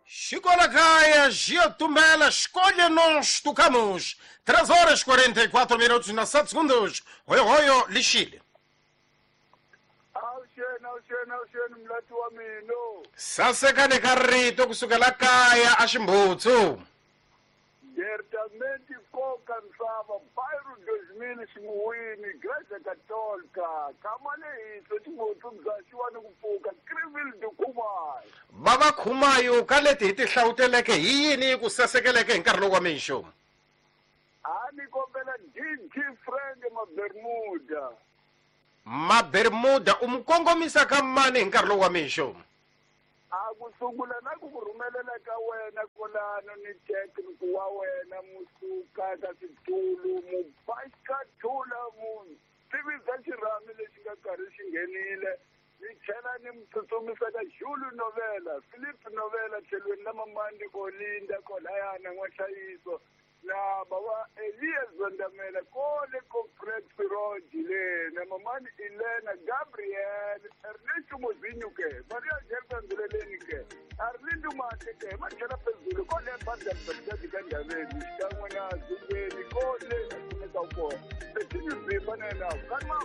Xikolakaya Giotumela, escolha nós tocamos. 3 horas 44 minutos na 7 segundos. Hoyo hoyo lixile. Awuxeni, awuxeni, awuxeni mulati wa mina. Sasekani ka rito kusukela kaya a Ximbutsu. Certamente koka misava bairro 2000 ximuwini Igreja Católica khama lehisa ximutsu bya xiwani ku pfuka Greenville Dukumayo. Va va khumayo ka leti hi ti hlawuteleke hi yini yi ku sasekeleke hi nkarhi lowu wa mixo? A ni kombela DJ Frank Mabermuda. Mabermuda u mu kongomisa ka mani hi nkarhi lowu wa mixo? A ku sungula na ku ku rhumelela ka wena kolano ni tekniku wa wena musuka ka switulu mubaxikathula mu tivisa xirhami lexi nga karhi xi nghenile ni tlhela ni mu tsutsumisa ka Julu Novela Philip Novela tlhelweni la Mamandi Olinda kolayana N'wahlayiso na bava Elias Zondamela kole Comrade Firoji le na mamani Elena Gabriel Ernesto Mozinho ke Maria Angelica Nduleleni ke Arlindo Mate ke matlhela phezulu kole Vanderbilt ka Ndaveni xikan'we na Zumbeni kole a kumeka kona Betini Zimba na yena kanma.